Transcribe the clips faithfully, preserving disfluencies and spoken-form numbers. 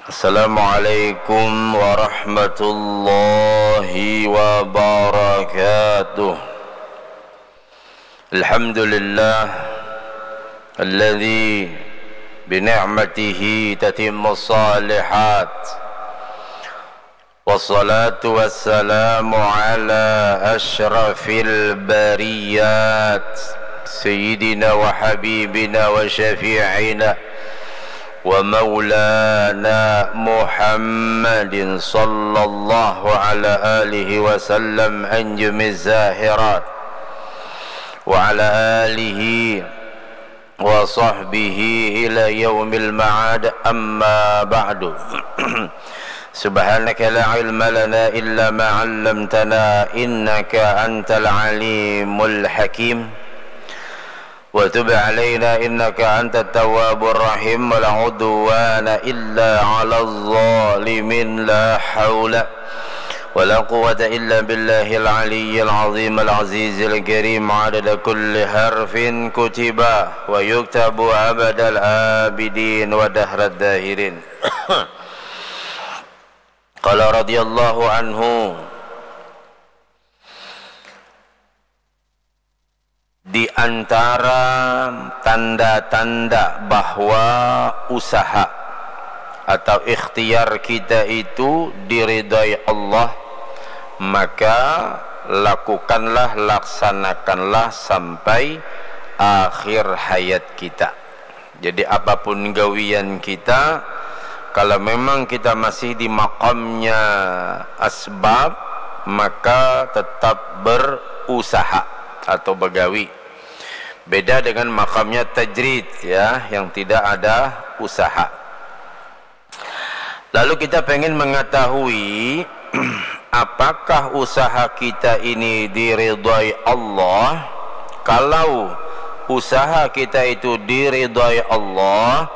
Assalamualaikum warahmatullahi wabarakatuh. Alhamdulillah alladzi bi ni'matihi tatimmus shalihat. Wassalatu wassalamu ala asyrafil bariyat, sayyidina wa habibina wa syafi'ina wa maulana Muhammadin sallallahu ala alihi wasallam anjumiz zahirat, wa ala alihi wa sahbihi ila yaumil ma'ad, amma ba'du. Subhanaka la ilma lana illa ma 'allamtana innaka antal alimul hakim. Wa tub alaina innaka antat tawwabur rahim. Wa la udwana illa 'alaz zalimin. La haula wa la quwwata illa billahil aliyyil azim al azizil karim, adada kulli harfin kutiba wa yuktabu abadal abidin wa dahrad dahirin. Qala radhiyallahu anhu, di antara tanda-tanda bahwa usaha atau ikhtiar kita itu diridhai Allah, maka lakukanlah, laksanakanlah sampai akhir hayat kita. Jadi, apapun gawian kita, kalau memang kita masih di makamnya asbab, maka tetap berusaha atau begawi. Beda dengan makamnya tajrid, ya, yang tidak ada usaha. Lalu kita pengen mengetahui apakah usaha kita ini diridhai Allah? Kalau usaha kita itu diridhai Allah,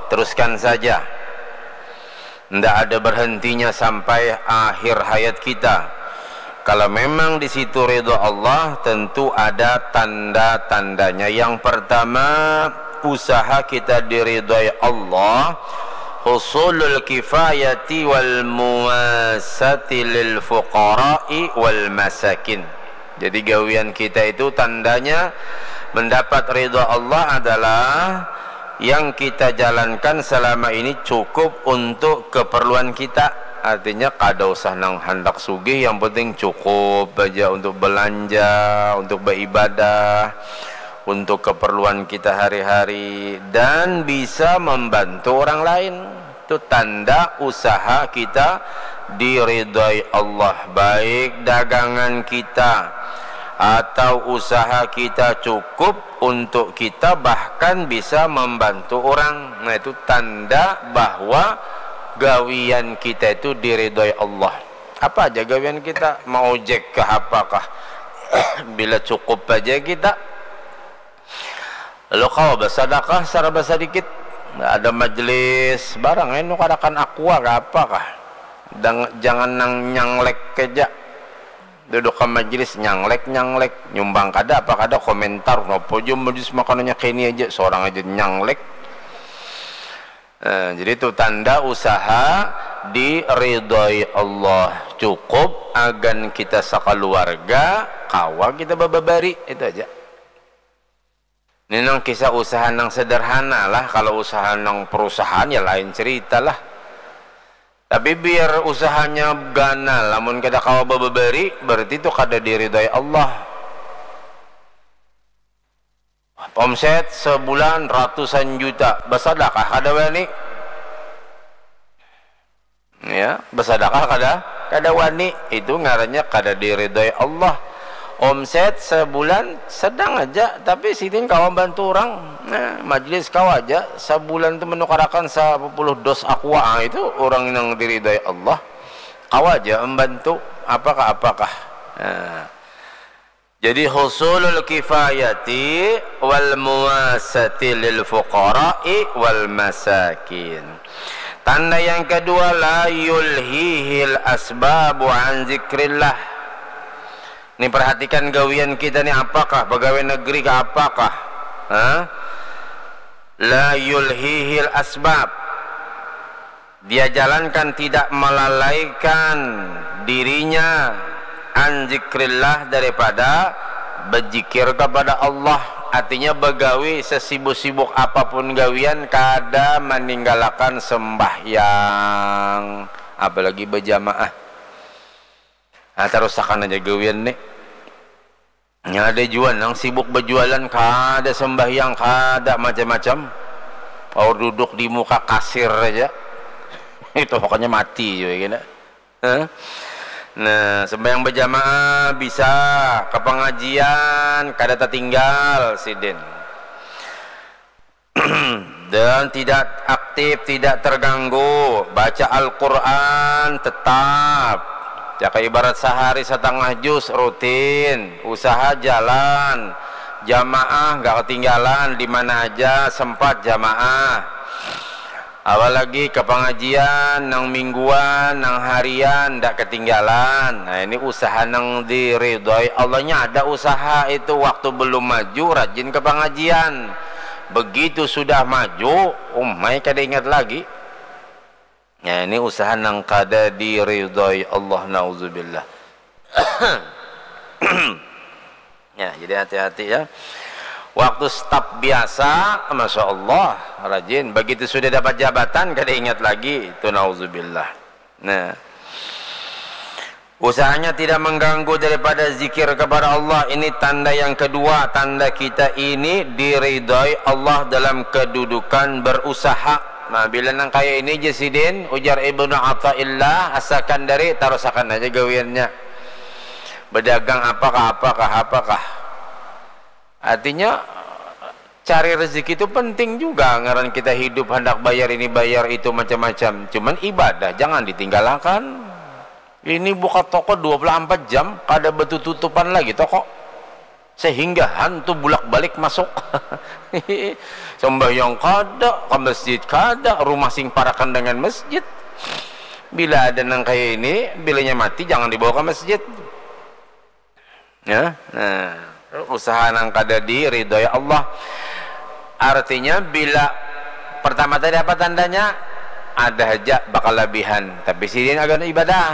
teruskan saja. Ndak ada berhentinya sampai akhir hayat kita. Kalau memang di situ ridha Allah, tentu ada tanda-tandanya. Yang pertama, usaha kita diridhai Allah, husulul kifayati wal muwasati lil fuqara'i wal masakin. Jadi, gawian kita itu tandanya mendapat ridha Allah adalah yang kita jalankan selama ini cukup untuk keperluan kita. Artinya, kada usah nang handak sugih, yang penting cukup aja untuk belanja, untuk beribadah, untuk keperluan kita hari-hari, dan bisa membantu orang lain. Itu tanda usaha kita diridhai Allah, baik dagangan kita atau usaha kita cukup untuk kita, bahkan bisa membantu orang. Nah, itu tanda bahwa gawian kita itu diridhoi Allah. Apa aja gawian kita, maojek kah, apakah, bila cukup aja kita, lalu kawa basadakah saraba sadikit. Ada majelis barang, anu karakan aqua kah, apakah. Dang-, jangan nang nyanglek aja. Duduk ka majelis, nyanglek, nyanglek. Nyumbang kada, apa kada, komentar. Napa ja majelis makanannya kaya ini aja, sorang aja nyanglek. Nah, jadi itu tanda usaha diridhoi Allah. Cukup agan kita sakaluarga, kawa kita bababari, itu aja. Ini nang kisah usaha nang sederhana lah. Kalau usaha nang perusahaan, ya lain cerita lah. Tapi biar usahanya ganal, lamun kada kawa bababari, berarti itu kada diridhoi Allah. Omset sebulan ratusan juta, basadakah kada wani? Ya, basadakah kada? Kada wani. Itu ngarannya kada diridhoi Allah. Omset sebulan sedang aja, tapi sidin kawa bantu orang. Nah, majelis kawa aja sabulan tu menukarakan sapuluh dos aqua. Ah, itu orang yang diridhoi Allah. Kawa aja membantu, apakah, apakah. Nah. Jadi, husulul kifayati wal muwasati lil fuqara'i wal masakin. Tanda yang kedua, la yulhihil asbabu an zikrillah. Ni, perhatikan gawian kita ni apakah, pegawai negeri kah apakah? Hah? La yulhihil asbab. Dia jalankan tidak melalaikan dirinya an zikrillah, daripada berzikir kepada Allah. Artinya begawi sesibuk-sibuk apapun gawian kada meninggalakan sembahyang, apalagi berjamaah. Nah, tarusakan aja gawian nih. Nya ada jua nang sibuk berjualan, kada sembahyang, kada macam-macam. Aur duduk di muka kasir aja. Itu pokoknya mati juga kena. Hah? Nah, sembahyang berjamaah bisa, ke pengajian kada tertinggal sidin. Dan tidak aktif, tidak terganggu, baca Al-Quran tetap. Jaka ibarat sehari setengah juz rutin, usaha jalan, jamaah nggak ketinggalan, di mana aja sempat jamaah. Apalagi ke pengajian, nang mingguan, nang harian, ndak ketinggalan. Nah, ini usaha nang diridhoi Allahnya. Ada usaha itu, waktu belum maju, rajin ke pengajian. Begitu sudah maju, umai kada ingat lagi. Ya, ini usaha nang kada diridhoi Allah, nauzubillah. Ya, jadi hati-hati ya. Waktu staf biasa, masya Allah, rajin. Begitu sudah dapat jabatan, kada ingat lagi. Itu nauzubillah. Nah, usahanya tidak mengganggu daripada zikir kepada Allah. Ini tanda yang kedua, tanda kita ini diridhoi Allah dalam kedudukan berusaha. Nah, bila nang kaya ini, Jasidin, ujar Ibnu Athaillah As-Sakandari, tarusakan aja gawiannya. Berdagang apakah, apakah, apakah. Artinya, cari rezeki itu penting juga. Ngaran kita hidup, hendak bayar ini, bayar itu, macam-macam. Cuman ibadah jangan ditinggalkan. Ini buka toko dua puluh empat jam, kada betutupan lagi toko. Sehingga hantu bulak-balik masuk. Sembahyang kada, ke masjid kada, rumah sing parakan dengan masjid. Bila ada nang kaya ini, bilanya mati jangan dibawa ke masjid. Ya, nah, usaha nang kada diridhoi Allah. Artinya, bila pertama tadi apa tandanya? Ada haja bakalabihan, tapi sidin agan ibadah.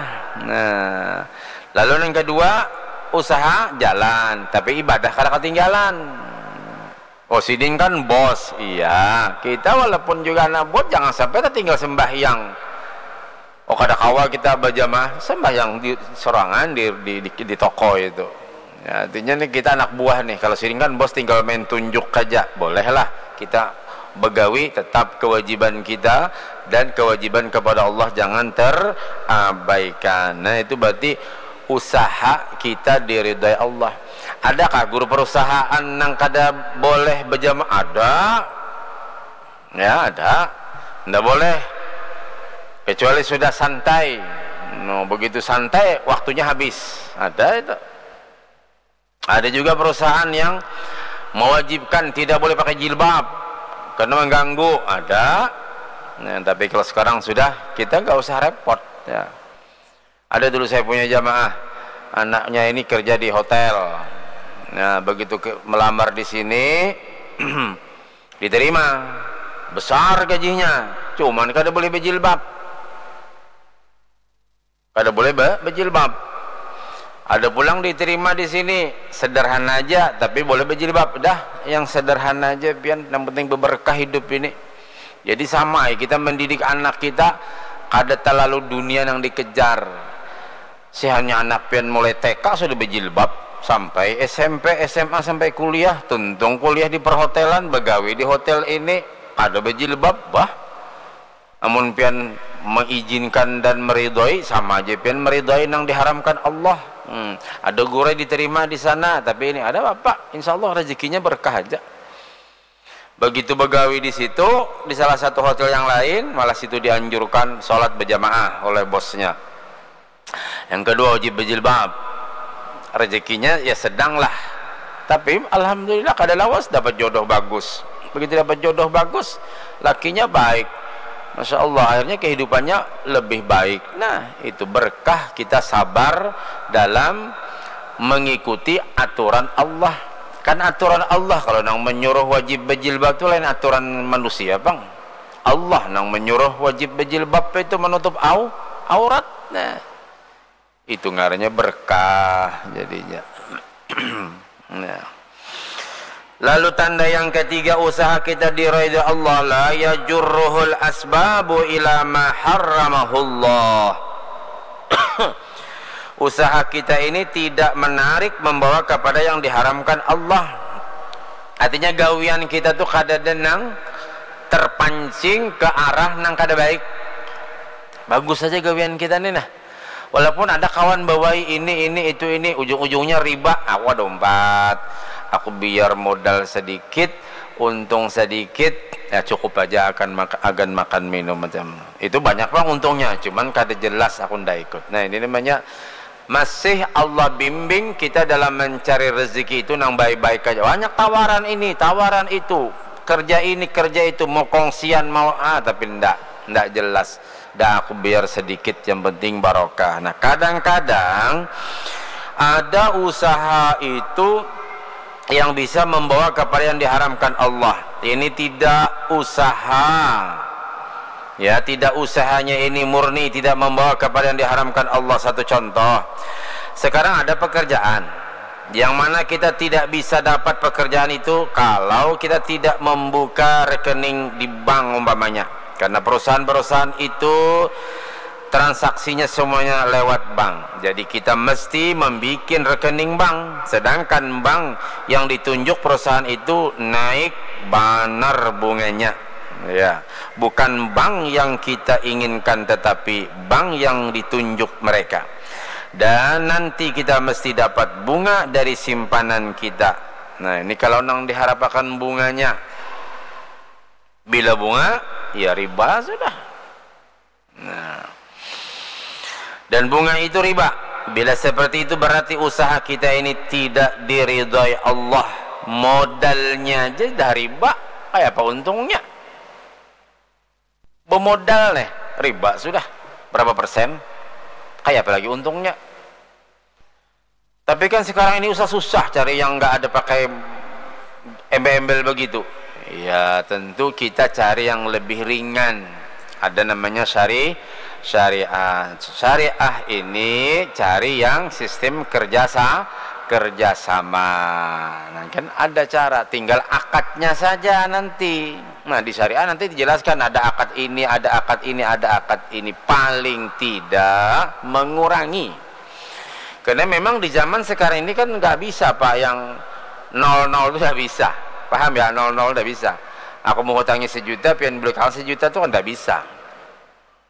Nah, lalu nang kedua, usaha jalan, tapi ibadah kada ketinggalan. Oh, sidin kan bos, iya. Kita walaupun juga anak buat, jangan sampai tertinggal sembahyang. Oh, kada kawa kita berjamaah sembahyang di sorangan di, di, di, di toko itu. Ya, artinya nih kita anak buah nih. Kalau sidin kan bos tinggal main tunjuk aja, bolehlah kita begawi, tetap kewajiban kita dan kewajiban kepada Allah jangan terabaikan. Nah, itu berarti usaha kita diridhoi Allah. Adakah guru perusahaan nang kada boleh berjamaah? Ada. Ya, ada. Ndak boleh. Kecuali sudah santai. No, begitu santai, waktunya habis. Ada itu. Ada juga perusahaan yang mewajibkan tidak boleh pakai jilbab karena mengganggu. Ada. Nah, tapi kalau sekarang sudah, kita nggak usah repot. Ya. Ada dulu saya punya jamaah, anaknya ini kerja di hotel. Nah, begitu ke, melamar di sini, diterima, besar gajinya, cuman kada boleh berjilbab. Kada boleh be, berjilbab. Ada pulang diterima di sini, sederhana aja, tapi boleh berjilbab. Dah, yang sederhana aja, pian, yang penting berberkah hidup ini. Jadi sama, kita mendidik anak kita, kada terlalu dunia yang dikejar. Sihannya anak pian mulai T K sudah berjilbab, sampai S M P, S M A, sampai kuliah, tuntung kuliah di perhotelan, begawi di hotel ini, ada berjilbab, bah. Amun pian mengizinkan dan meridhoi, sama aja pian meridhoi nang diharamkan Allah. Hmm, ada gurai diterima di sana, tapi ini ada bapak, insya Allah rezekinya berkah aja. Begitu begawi di situ, di salah satu hotel yang lain, malah situ dianjurkan sholat berjamaah oleh bosnya. Yang kedua, wajib berjilbab. Rezekinya ya sedang lah. Tapi alhamdulillah kada lawas dapat jodoh bagus. Begitu dapat jodoh bagus, lakinya baik. Masya Allah, akhirnya kehidupannya lebih baik. Nah, itu berkah kita sabar dalam mengikuti aturan Allah. Kan aturan Allah, kalau nang menyuruh wajib berjilbab tu lain aturan manusia, pang. Allah nang menyuruh wajib bejilbab itu menutup au aurat. Nah, itu ngarannya berkah jadinya. Nah. Lalu tanda yang ketiga, usaha kita diridhoi Allah, la yajurruhul asbabu ila ma harramahullah. Usaha kita ini tidak menarik membawa kepada yang diharamkan Allah. Artinya gawian kita tuh kada denang terpancing ke arah nang kada baik. Bagus saja gawian kita nih nah. Walaupun ada kawan bawai ini, ini, itu, ini, ujung-ujungnya riba. Aku ada umpat. Aku biar modal sedikit, untung sedikit, ya cukup aja akan mak agan makan minum macam. Itu banyak pang untungnya, cuman kada jelas aku ndak ikut. Nah, ini namanya masih Allah bimbing kita dalam mencari rezeki itu nang baik-baik aja. Banyak tawaran ini, tawaran itu, kerja ini, kerja itu, mau kongsian, mau ah, tapi ndak, ndak jelas. Dah aku biar sedikit, yang penting barokah. Nah, kadang-kadang ada usaha itu yang bisa membawa kepada yang diharamkan Allah. Ini tidak usaha. Ya, tidak usahanya ini murni tidak membawa kepada yang diharamkan Allah. Satu contoh, sekarang ada pekerjaan yang mana kita tidak bisa dapat pekerjaan itu kalau kita tidak membuka rekening di bank umpamanya. Karena perusahaan-perusahaan itu transaksinya semuanya lewat bank. Jadi kita mesti membuat rekening bank. Sedangkan bank yang ditunjuk perusahaan itu naik banar bunganya. Ya, bukan bank yang kita inginkan tetapi bank yang ditunjuk mereka. Dan nanti kita mesti dapat bunga dari simpanan kita. Nah, ini kalau nang diharapakan bunganya. Bila bunga, ya riba sudah. Nah. Dan bunga itu riba. Bila seperti itu berarti usaha kita ini tidak diridhoi Allah. Modalnya aja dah riba. Kayak apa untungnya? Bemodal nih, riba sudah. Berapa persen? Kayak apa lagi untungnya? Tapi kan sekarang ini usah susah cari yang nggak ada pakai embel-embel begitu. Ya tentu kita cari yang lebih ringan. Ada namanya syari syariah. Syariah ini cari yang sistem kerjasa kerjasama. Nah, kan ada cara, tinggal akadnya saja nanti. Nah, di syariah nanti dijelaskan ada akad ini, ada akad ini, ada akad ini. Paling tidak mengurangi. Karena memang di zaman sekarang ini kan nggak bisa pak yang nol nol itu nggak bisa. Paham ya, nol nol nggak bisa. Aku mau hutangi sejuta, pian beli kawan sejuta itu kan nggak bisa.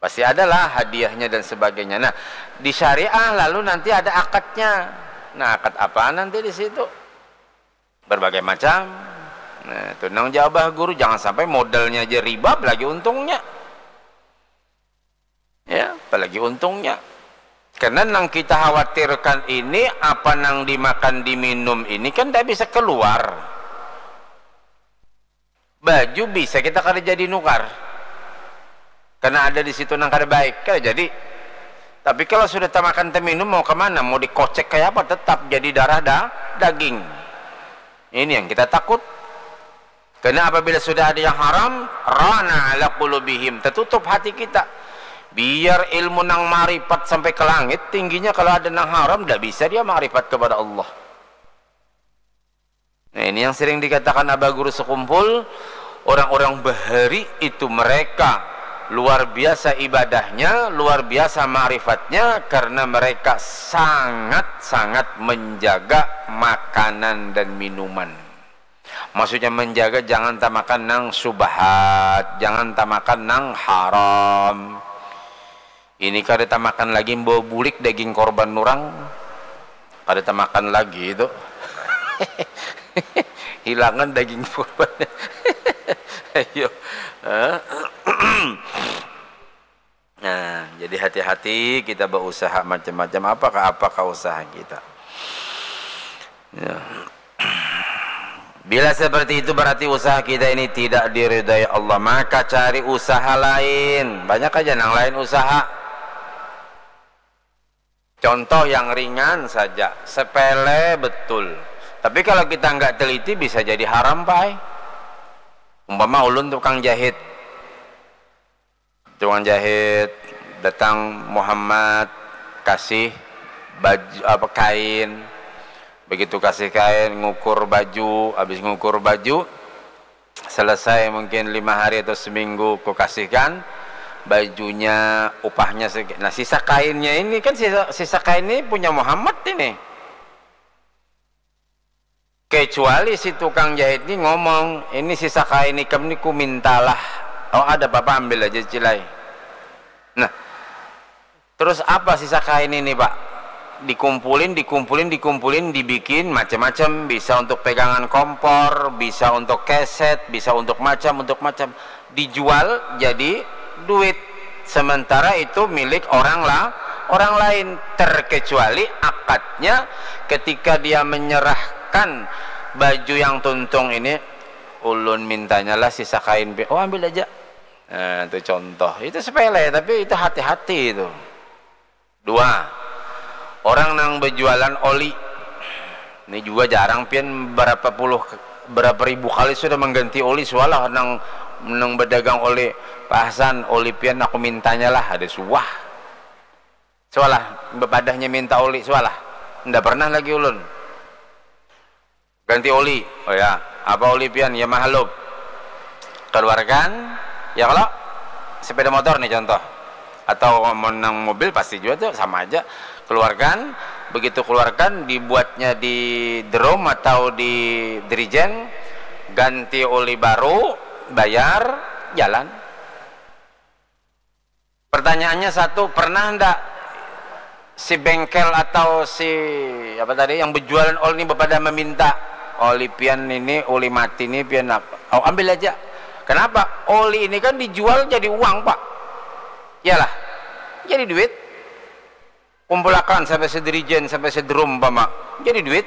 Pasti adalah hadiahnya dan sebagainya. Nah, di syariah lalu nanti ada akadnya. Nah, akad apa nanti di situ? Berbagai macam. Nah, itu nang jawab guru, jangan sampai modalnya aja riba, apalagi untungnya. Ya, apalagi untungnya. Karena nang kita khawatirkan ini, apa nang dimakan diminum ini kan tidak bisa keluar. Baju bisa kita kada jadi nukar. Karena ada di situ nang kada baik, kada jadi. Tapi kalau sudah tamakan teminum mau kemana? Mau dikocek kayak apa? Tetap jadi darah da daging. Ini yang kita takut. Karena apabila sudah ada yang haram, rana ala qulubihim, tertutup hati kita. Biar ilmu nang maripat sampai ke langit tingginya, kalau ada nang haram, tidak bisa dia maripat kepada Allah. Nah, ini yang sering dikatakan Abah Guru Sekumpul, orang-orang bahari itu mereka luar biasa ibadahnya, luar biasa ma'rifatnya karena mereka sangat-sangat menjaga makanan dan minuman. Maksudnya menjaga jangan tamakan nang subhat, jangan tamakan nang haram. Ini kada tamakan lagi, bawa bulik daging korban orang. Kada tamakan lagi itu. Hilangan daging korban. Ayo. Nah, jadi hati-hati kita berusaha macam-macam. Apakah apakah usaha kita? Ya. Bila seperti itu berarti usaha kita ini tidak diridai Allah. Maka cari usaha lain. Banyak aja nang lain usaha. Contoh yang ringan saja, sepele betul. Tapi kalau kita nggak teliti bisa jadi haram, Pak. Umpama ulun tukang jahit. tukang jahit datang, Muhammad, kasih baju apa, kain. Begitu kasih kain, ngukur baju, habis ngukur baju selesai mungkin lima hari atau seminggu, ku kasihkan bajunya, upahnya segi-, nah, sisa kainnya ini kan, sisa, sisa kain ini punya Muhammad ini. Kecuali si tukang jahit ni ngomong, "Ini sisa kain ikam ni ku mintalah." "Oh, ada apa-apa, ambil aja, Cilai." Nah, terus apa sisa kain ini, Pak? Dikumpulin, dikumpulin, dikumpulin, dibikin macam-macam, bisa untuk pegangan kompor, bisa untuk keset, bisa untuk macam, untuk macam. Dijual jadi duit. Sementara itu milik orang la-, orang lain, terkecuali akadnya ketika dia menyerahkan baju yang tuntung ini, "Ulun mintanya lah sisa kain pi-," "Oh, ambil aja." Nah, itu contoh. Itu sepele, tapi itu hati-hati itu. Dua, orang nang berjualan oli. Ini juga jarang pian, berapa puluh, berapa ribu kali sudah mengganti oli, sualah nang, nang berdagang oli, "Pak Hasan, oli pian aku mintanya lah," ada suah. Sualah, bepadahnya minta oli, sualah. Nda pernah lagi ulun. Ganti oli. "Oh ya, apa oli pian?" "Ya, Mahalub." Keluarkan, ya kalau sepeda motor nih contoh. Atau menang mobil pasti juga tuh sama aja. Keluarkan, begitu keluarkan, dibuatnya di drum atau di dirijen, ganti oli baru, bayar, jalan. Pertanyaannya satu, pernah ndak si bengkel atau si apa tadi yang berjualan oli ini bepada meminta, "Oli pian ini, oli mati ini pian apa? Oh, ambil aja." Kenapa? Oli ini kan dijual jadi uang, Pak. Iyalah. Jadi duit. Kumpulakan sampai sedirijen, sampai sedrum, umpama. Jadi duit.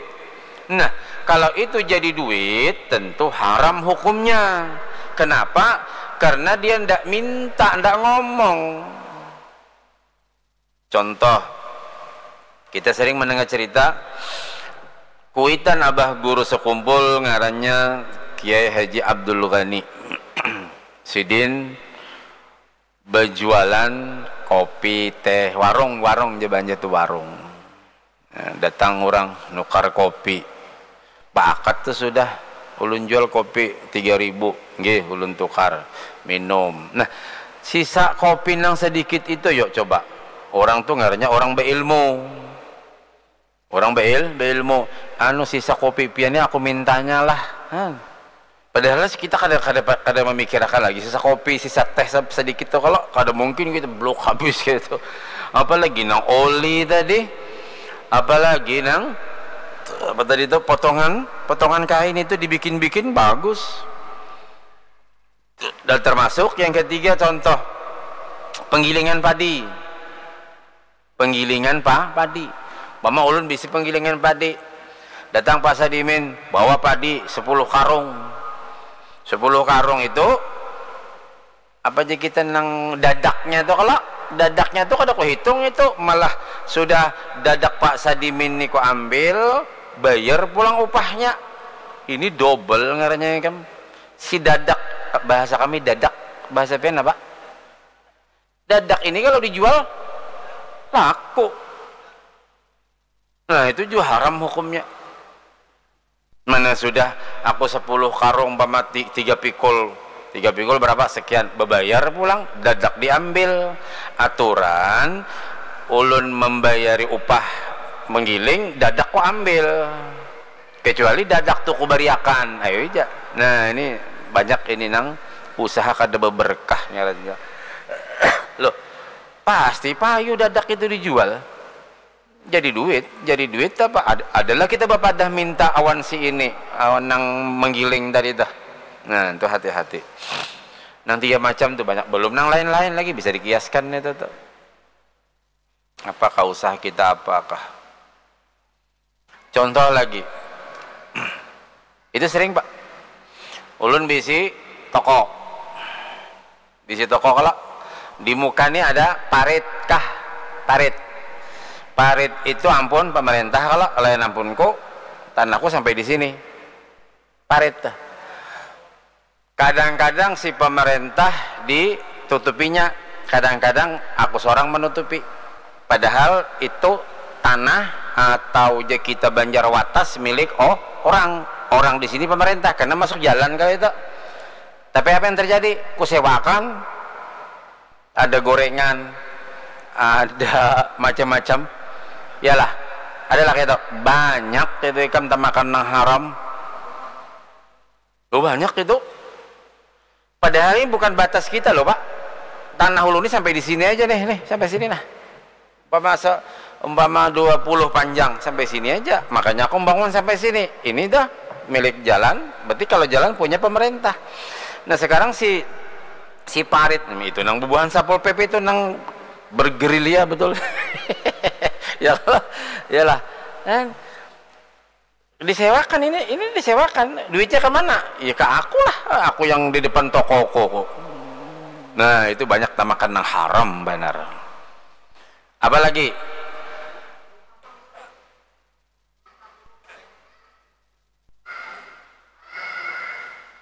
Nah, kalau itu jadi duit, tentu haram hukumnya. Kenapa? Karena dia ndak minta, ndak ngomong. Contoh, kita sering mendengar cerita, kuitan abah guru sekumpul ngarannya Kiai Haji Abdul Ghani. Sidin berjualan kopi, teh, warung, warung je banja tu warung. Nah, datang orang nukar kopi. Baakad tu sudah, "Ulun jual kopi tiga ribu." "Nggih, ulun tukar." Minum. Nah, sisa kopi nang sedikit itu, yuk coba. Orang tu ngarannya orang beilmu. Orang beil-, beilmu, "Anu, sisa kopi pian ni aku mintanya lah." Nah, padahal kita kada, kada, kada memikirakan lagi sisa kopi, sisa teh se-, sedikit tu kalau kada mungkin kita blok habis gitu. Apalagi nang oli tadi, apalagi nang apa tadi tu, potongan, potongan kain itu dibikin-bikin bagus. Dan termasuk yang ketiga, contoh penggilingan padi. Penggilingan pa-, padi. Mama ulun bisi penggilingan padi. Datang Pak Sadimin, bawa padi sepuluh karung. Sepuluh karung itu, apa aja kita nang dadaknya tu, kalau dadaknya tu kada kuhitung itu, malah sudah dadak Pak Sadimin ni kuambil, bayar pulang upahnya. Ini double ngarannya, kan. Si dadak, bahasa kami dadak, bahasa pian apa? Dadak ini kalau dijual, laku. Nah, itu juga haram hukumnya. Mana sudah aku sepuluh karung, umpama ti-, tiga pikul. Tiga pikul berapa? Sekian. Bebayar pulang, dadak diambil. Aturan, ulun membayari upah menggiling, dadak ku ambil. Kecuali dadak tu kubariakan, ayo ija. Nah, ini banyak ini nang usaha kada beberkah ngarannya. Loh, pasti payu dadak itu dijual. Jadi duit, jadi duit apa? Ad-, adalah kita bapadah minta awan si ini, awan nang menggiling tadi tuh. Nah, itu hati-hati. Nang tiga macam tuh banyak, belum nang lain-lain lagi bisa dikiaskan itu tuh. Apakah usaha kita apakah? Contoh lagi. Itu sering, Pak. Ulun bisi toko. Bisi toko kalau di muka ni ada parit kah? Parit. Parit itu ampun pemerintah kalau, lain ampunku, tanahku sampai di sini. Parit tuh. Kadang-kadang si pemerintah ditutupinya. Kadang-kadang aku seorang menutupi, padahal itu tanah atau je kita Banjar Watas milik, oh, orang, orang di sini pemerintah karena masuk jalan kali itu. Tapi apa yang terjadi? Kusewakan, ada gorengan, ada macam-macam. Yalah, ada lah itu. Banyak itu ikam tamakan nang haram. Oh, banyak itu. Padahal ini bukan batas kita loh, Pak. Tanah ulun ini sampai di sini aja nih, nih, sampai sini nah. Umpama se- umpama dua puluh panjang sampai sini aja. Makanya aku membangun sampai sini. Ini dah milik jalan, berarti kalau jalan punya pemerintah. Nah, sekarang si si parit itu nang bubuhan Satpol P P itu nang bergerilya betul. Ya lah, ya lah. Kan disewakan ini, ini disewakan. Duitnya ke mana? Ya ke aku lah. Aku yang di depan toko kok. Nah, itu banyak tamakan nang haram benar. Apalagi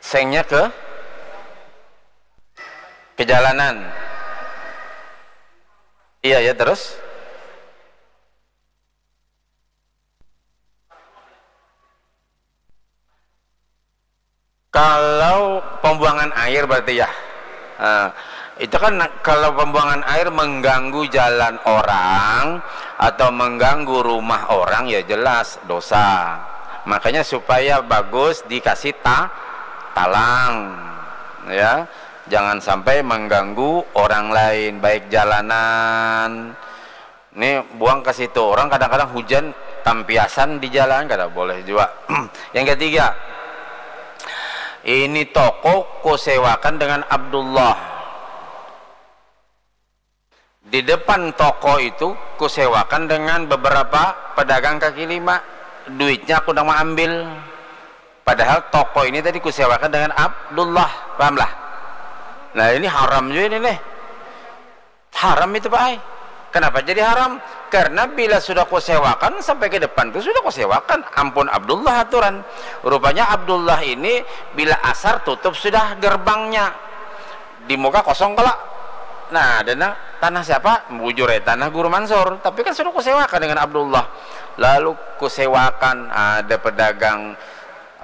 sengnya ke kejalanan. Iya ya, terus kalau pembuangan air berarti ya. Nah, itu kan kalau pembuangan air mengganggu jalan orang atau mengganggu rumah orang, ya jelas dosa. Makanya supaya bagus dikasih ta talang, ya. Jangan sampai mengganggu orang lain, baik jalanan, ini buang ke situ. Orang kadang-kadang hujan tampiasan di jalan, kada boleh juga. Yang ketiga, ini toko kusewakan dengan Abdullah. Di depan toko itu kusewakan dengan beberapa pedagang kaki lima. Duitnya aku nang ambil. Padahal toko ini tadi kusewakan dengan Abdullah, pahamlah? Nah, ini haram juga ini nih. Haram itu, Pak ai. Kenapa jadi haram? Karena bila sudah kusewakan sampai ke depan tuh sudah kusewakan, ampun Abdullah aturan. Rupanya Abdullah ini bila asar tutup sudah gerbangnya. Di muka kosong kala. Nah, ada nang, tanah siapa? Bujur ya, tanah Guru Mansur. Tapi kan sudah kusewakan dengan Abdullah. Lalu kusewakan, ada pedagang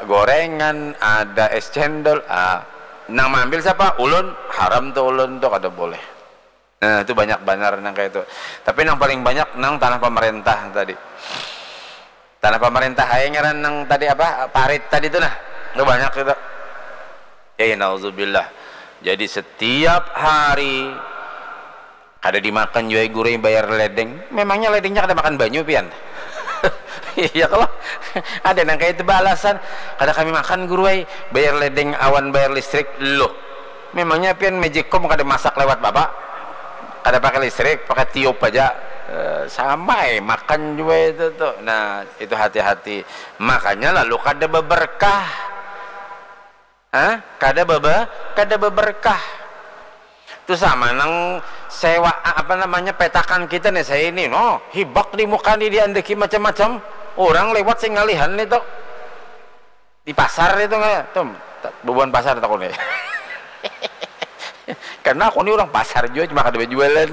gorengan, ada es cendol. Ah, nang maambil siapa? Ulun. Haram tuh ulun tuh, kada boleh. Nah, itu banyak banar nang kayak itu. Tapi nang paling banyak nang tanah pemerintah tadi. Tanah pemerintah aja ngaran nang tadi apa? Parit tadi tuh nah. Itu banyak itu. Ya, ya, nauzubillah. Jadi setiap hari kada dimakan jua guru bayar ledeng. Memangnya ledengnya kada makan banyu pian? Iya kalau ada nang kayak itu balasan, kada kami makan guru ai, bayar ledeng awan bayar listrik. Loh, memangnya pian magicom kada masak lewat bapak? Kada pakai listrik, pakai tiup aja. Eh, sama eh, makan juga itu tuh. Nah, itu hati-hati. Makanya lalu kada beberkah. Hah? Kada bebe, kada beberkah. Itu sama nang sewa, apa namanya, petakan kita nih, saya ini, no, hibak di muka nih, diandeki macam-macam. Orang lewat sing ngalihan nih tuh. Di pasar itu nggak? Tuh, bubuhan pasar takut nih. Karena aku ini orang pasar juga, cuma kada berjualan.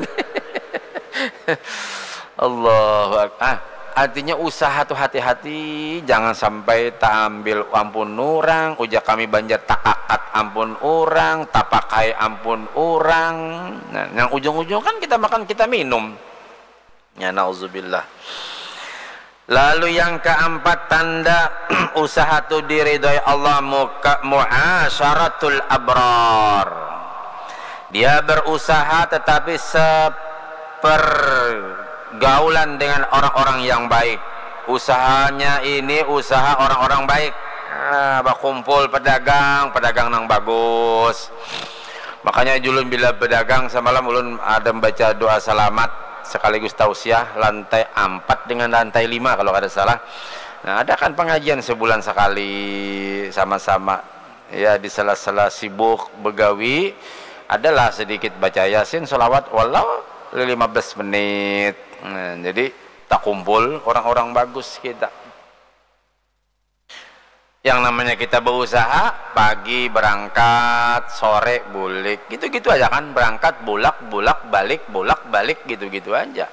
Allahu Ak-, ah, artinya usaha tuh hati-hati, jangan sampai taambil ampun orang, ujar kami banjar takakat ampun orang, tapakai ampun orang. Nah, yang ujung-ujung kan kita makan, kita minum. Ya, nauzubillah. Lalu yang keempat tanda usaha tu diridhoi Allah, muka-, muasyaratul abrar. Dia berusaha tetapi sepergaulan dengan orang-orang yang baik. Usahanya ini usaha orang-orang baik. Nah, bakumpul pedagang, pedagang nang bagus. Makanya julun bila bedagang semalam ulun ada membaca doa selamat sekaligus tausiah lantai ampat dengan lantai lima kalau kada salah. Nah, ada kan pengajian sebulan sekali sama-sama. Ya, di sela-sela sibuk begawi, adalah sedikit baca Yasin, selawat, walau lima belas menit. Nah, jadi takumpul orang-orang bagus kita. Yang namanya kita berusaha, pagi berangkat, sore bulik, gitu-gitu aja kan, berangkat, bulak, bulak, balik, bulak, balik, gitu-gitu aja.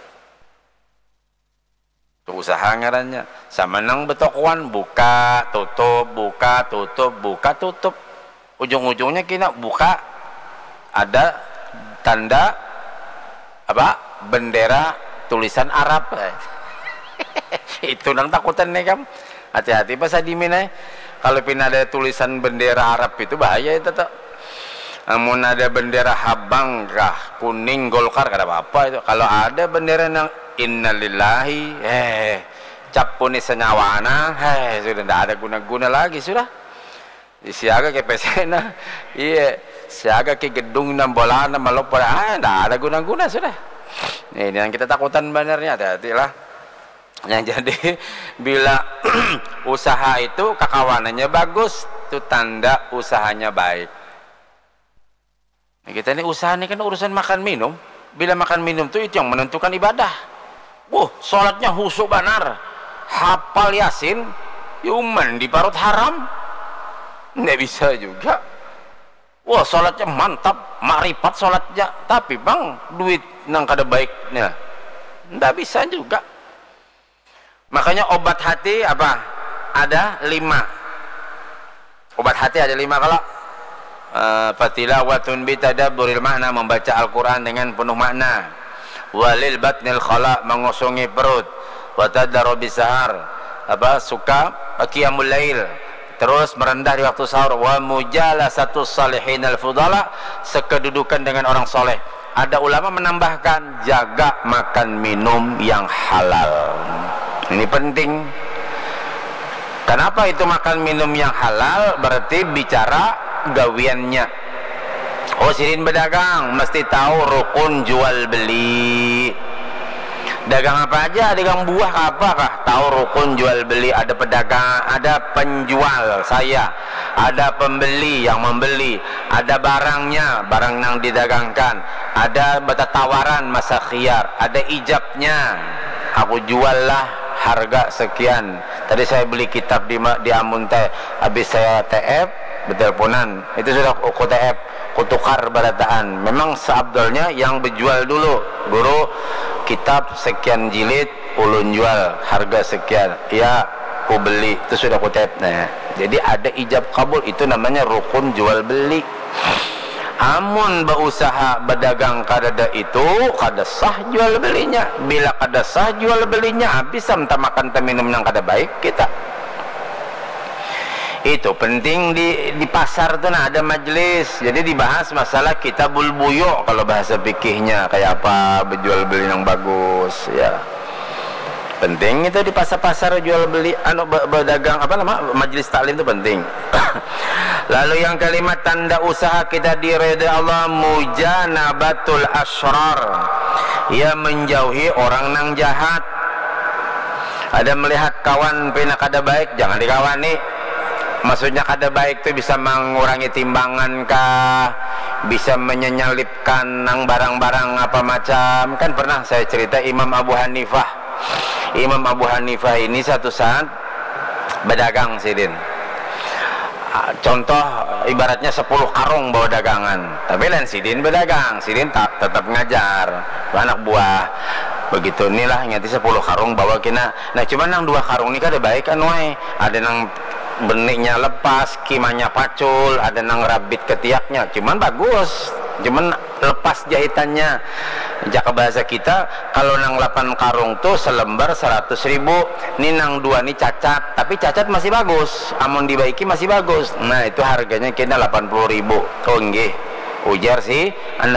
Itu usaha ngarannya. Sama nang betokoan, buka, tutup, buka, tutup, buka, tutup. Ujung-ujungnya kena buka, ada tanda apa, bendera tulisan Arab. Itu nang takutan nih kam. Hati-hati pas adimin eh. Kalau pina ada tulisan bendera Arab itu bahaya itu tuh. Amun ada bendera habang kah, kuning, Golkar, kada apa-apa itu. Kalau ada bendera nang innalillahi, eh, cap puni senyawana, eh, sudah ndak ada guna-guna lagi sudah. Siaga ke P C na, iya, siaga ke gedung nang bola nang malopor, ah, ndak ada guna-guna sudah. Ini yang kita takutan benernya, hati-hatilah. Yang jadi bila usaha itu kakawanannya bagus, itu tanda usahanya baik. Nah, kita ini usaha ini kan urusan makan minum. Bila makan minum tuh itu yang menentukan ibadah. Wuh, sholatnya husu banar. Hafal Yasin, yuman di parut haram. Nggak bisa juga. Wah, sholatnya mantap, makripat sholatnya. Tapi bang, duit nang kada baiknya. Nggak bisa juga. Makanya obat hati apa? Ada lima. Obat hati ada lima kalau eh, fatilawatun bitadabburil makna, membaca Al-Quran dengan penuh makna, walil batnil khala, mengosongi perut, watadaro bisahar, apa, suka qiyamul lail, terus merendah di waktu sahur, wa mujalasatus salihin al fudala, sekedudukan dengan orang soleh. Ada ulama menambahkan, jaga makan minum yang halal. Ini penting. Kenapa itu makan minum yang halal? Berarti bicara gawiannya. Oh, sidin berdagang, mesti tahu rukun jual beli. Dagang apa aja, dagang buah apa kah? Tahu rukun jual beli, ada pedagang, ada penjual, saya, ada pembeli yang membeli, ada barangnya, barang yang didagangkan, ada bertatawaran masa khiyar, ada ijabnya. Aku jual lah harga sekian. Tadi saya beli kitab di di Amun teh, habis saya T F, berteleponan. Itu sudah aku T F, kutukar barataan. Memang seabdolnya yang berjual dulu, guru, kitab sekian jilid ulun jual harga sekian, ya, ku beli, itu sudah ku tap. Nah, jadi ada ijab kabul, itu namanya rukun jual beli. Amun berusaha berdagang kadada itu, kada sah jual belinya. Bila kada sah jual belinya, habis entah makan entah minum yang kada baik kita. Itu penting di di pasar tuh, nah, ada majelis, jadi dibahas masalah kitabul buyu, kalau bahasa fikihnya kayak apa, berjual beli yang bagus, ya. Penting itu di pasar-pasar jual beli, anu, be- berdagang, apa nama, majelis taklim itu penting. Lalu yang kelima, tanda usaha kita diridhoi Allah, mujanabatul asrar, ya, menjauhi orang nang jahat. Ada melihat kawan pina kada baik, jangan dikawani. Maksudnya kada baik tu bisa mengurangi timbangan kah, bisa menyenyalipkan nang barang-barang apa macam. Kan pernah saya cerita, Imam Abu Hanifah. Imam Abu Hanifah ini satu saat berdagang sidin. Ah, contoh, ibaratnya sepuluh karung bawa dagangan, tapi lain sidin berdagang, sidin tak tetap ngajar anak buah. Begitu inilah, ingat, sepuluh karung bawa kena. Nah, cuman nang dua karung ni kada baik, anu ai. Ada nang beniknya lepas, kimanya pacul, ada nang rabit ketiaknya. Cuman bagus. Cuman lepas jahitannya. Jaka bahasa kita, kalau nang lapan karung tuh selembar seratus ribu, ni nang dua ni cacat, tapi cacat masih bagus, amun dibaiki masih bagus. Nah, itu harganya kena lapan puluh ribu. Oh, nggih, ujar si anak